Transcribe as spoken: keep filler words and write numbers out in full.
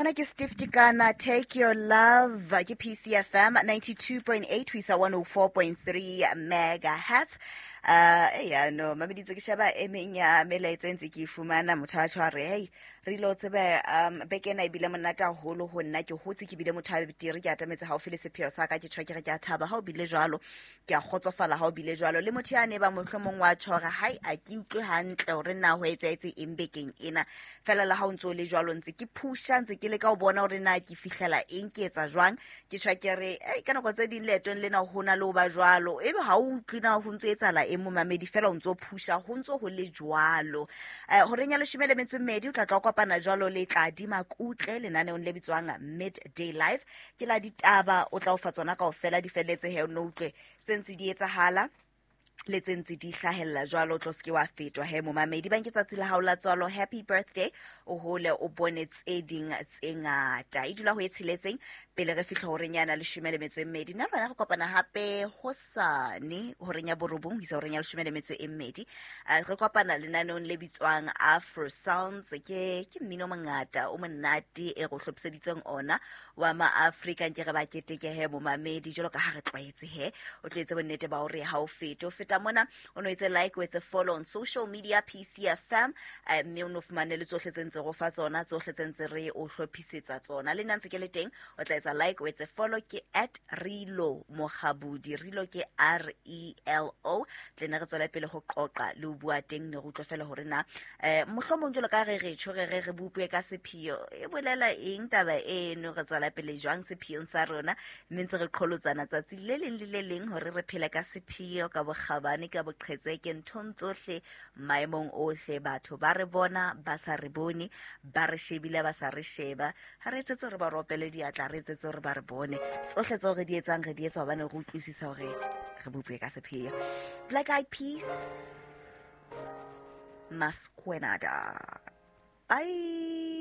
Mona ke Steve Tikana, Take Your Love, ke P C F M ninety-two point eight ho isa one oh four point three megahertz. Uh, eya no, mameditse ke sheba e meng ya melaetsa e ntse ke e fumana, motho a tjho a re, hey, re ilo tsebe, um, beke ena ebile monate haholo ho nna, ke hotse ke bile motho a betere, ke atametse haufi le sepheo sa ka, ke tjho ke re ke a thaba ha o bile jwalo, ke a kgotsofala ha o bile jwalo. Le motho ya ne ba mohlomong wa tjho hore, hai, a ke utlwe hantle hore na ho etsahetse eng bekeng ena. Fela le ha o ntso o le jwalo, ntse ke phusha, ntse ke leka ho bona hore na ke fihlela eng, ke etsa jwang. Ke tjho ke re, ei, ka nako tse ding leetong lena ho na le ho ba jwalo, ebe ha o utlwe na ho ntso etsahala eng momamedi, fela o ntso phusha, ho ntso ho le jwalo. Eh, horeng ya leshome le metso e mmedi, o tla tla o kopana jwalo le Tladi Makutle lenaneong le bitswang Midday Life. Ke la ditaba, o tla o fa tsona kaofela di felletse he, o no utlwe tse ntse di etsahala le tse ntse di hlahella jwalo, o tlo se ke wa fetwa he momamedi. Bang ke tsatsi la hao la tswalo, happy birthday, o hole o bone tse ding tse ngata. E dula ho e tsheletseng pele re fihla horeng yana leshome le metso e mmedi. Nna le wena re kopana hape hosane horeng ya borobong ho isa horeng ya leshome le metso e mmedi. Eh, re kopana lenaneong le bitswang Afro Sounds. Ke, ke mmino o mongata o monate e re o hlophiseditseng ona wa ma-Afrika, nke re ba keteke he momamedi jwalo ka ha re tlwaetse he. O tlo etse bonnete ba hore ha o fete, o feta mona, o no etse like, o etse follow on social media P C F M, eh, mme o no fumane le tsohle tse ntse re o fa tsona, tsohle tse ntse re o hlophisetsa tsona. Le nna ntse ke le teng, o tla etsa like, o etse follow, ke at Relo Mokgabudi, Relo ke R E L O. Tle ne re tswele pele ho qoqa le ho bua teng, ne re utlwe fela hore na, eh, mohlomong jwalo ka re re tjho, re re re bopue ka sepheo, e bolela eng taba eno, re tswela pele jwang sepheong sa rona, mme ntse re qholotsana tsatsi le leng le le leng hore re phele ka sepheo, ka bokgabane, ka boqhetseke, nthong tsohle, maemong ohle. Batho ba re bona, ba sa re bone, ba re shebile, ba sa re sheba. Ha re etsetse hore ba ropele diatla, re etsetse hore ba re bone. Tsohle tseo re di etsang, re di etsa hobane re utlwisisa hore re bopue ka sepheo. Black Eyed Peas, Masquenada. Bye.